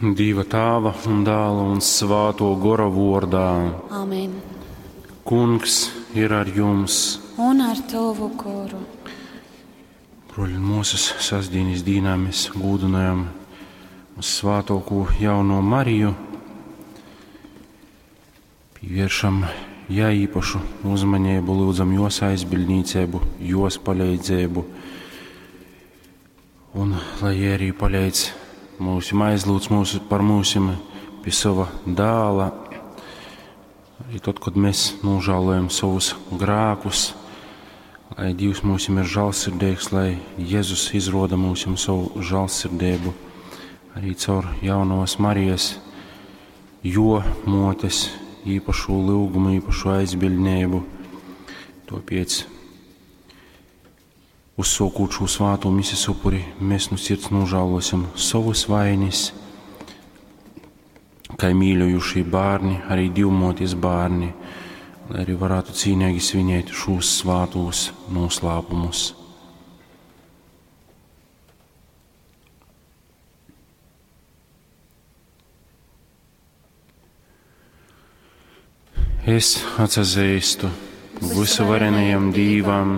Dīva Tāva un Dāla un Svāto Gora vordā. Amen. Kungs ir ar jums. Un ar tavu goru. Broļi un mūsas, sastdienas dīnā mēs gūdinājam uz svātoko jauno Mariju. Pievēršam jai īpašu uzmanību, lūdzam jos aizbildniecību, jos palīdzību. Un lai jie arī palīdz mūsim, aizlūdz mūsu, par mūsim pie sava dāla. Arī tad, kad mēs nožēlojam savus grēkus, lai Dievs mūsim ir žēlsirdīgs, lai Jēzus izroda mūsim savu žēlsirdību arī caur jaunos Marijas, jo motes īpašu lūgumu, īpašu aizbildnību. Tāpēc, uzsākot šo svāto misijas upuri, mēs no sirds nožēlosim savus vainas, kā mīļojušie bērni, arī divmoties bērni, lai arī varētu cīnīgi svinēt šos svātos noslēpumus. Es atzīstu visuvarenajam Dīvam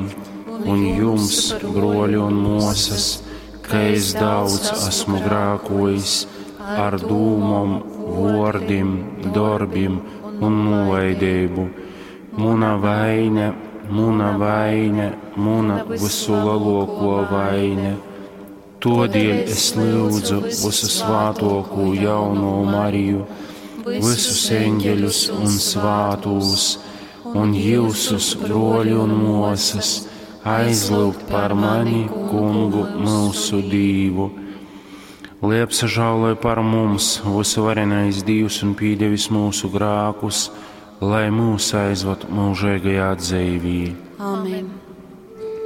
un jums, broļi un mosas, ka es daudz esmu grākojis ar dūmom, vōrdim, darbim un nolaidību. Muna vaine, muna vaine, muna visu lielāko vaine. Todēļ es lūdzu visu svātoko jauno Mariju, visus eņģeļus un svātūs, un jūsus broļi un mosas, aizlūgt par mani, kungu mūsu Dīvu. Lai apsažāloja par mums visuvarenais Dievs un pīdevis mūsu grākus, lai mūs aizvad mūžīgajā dzīvī. Amen.